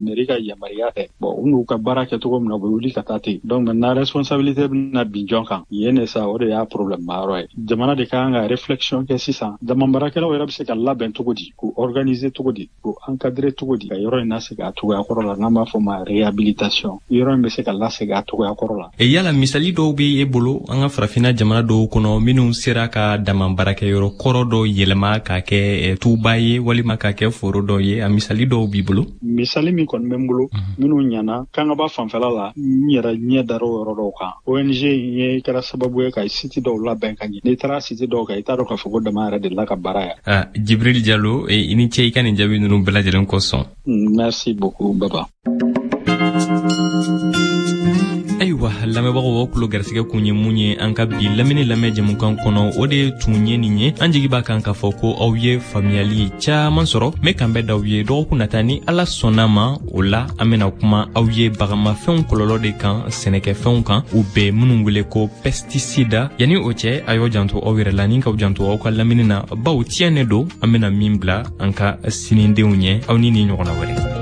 Mairie ka yamaruya tɛ. Bon, u n'u ka baara kɛ cogo min na, u bɛ wuli ka taa ten. Donc maintenant, responsabilité bɛna bin jɔn kan yen de sa? O de y'a problème ma yɔrɔ ye. Jamana de ka kan ka réflexion kɛ sisan, dama baarakɛlaw yɛrɛ bɛ se ka labɛn cogo di, k'u organiser cogo di, k'u encadrer cogo di, ka yɔrɔ in lasegin a cogoya kɔrɔ la, n'an b'a fɔ ma réhabilitation, yɔrɔ in bɛ se ka lasegin a cogoya kɔrɔ la. E yala misali dɔw bɛ e bolo an ka Farafinna jamana dɔw kɔnɔ minnu sera ka dama baarakɛyɔrɔ kɔrɔ dɔw yɛlɛma k'a kɛ tuba ye walima k'a kɛ foro dɔw ye? A misali dɔw b'i bolo? Misali min kɔni bɛ n bolo, minnu ɲana Kangaba fanfɛla la, n yɛrɛ ɲɛ dar'o yɔrɔ dɔw kan. ONG in ye kɛra sababu ye ka site dɔw labɛn ka ɲɛ. N'i taara site dɔw kan, i t'a dɔn k'a fɔ ko dama yɛrɛ delila ka baara yan. Ah, Jibril Jalo, i ni ce i ka nin jaabi ninnu bɛɛ lajɛlen kosɔn. Merci beaucoup, Baba. Ayiwa lamɛnbagaw, aw tulo garisɛgɛ kun ye mun ye an ka bi lamini lamɛn jɛmukan kɔnɔ, o de tun ye nin ye. An jigi b'a kan k'a fɔ ko aw ye faamuyali caaman sɔrɔ. N bɛ kanbɛn d'aw ye dɔgɔkun nata ni Ala sɔnna ma. O la, an bena kuma aw ye bagamafɛnw kɔlɔlɔ de kan sɛnɛkɛfɛnw kan, u bɛ minnu wele ko pesticide. Yanni o cɛ, a y'aw janto aw yɛrɛ la ni k'aw janto aw ka lamini na, bawo tiɲɛ ne don an bena min bila an ka sinidenw ɲɛ. Aw ni ni ɲɔgɔnna wɛrɛ.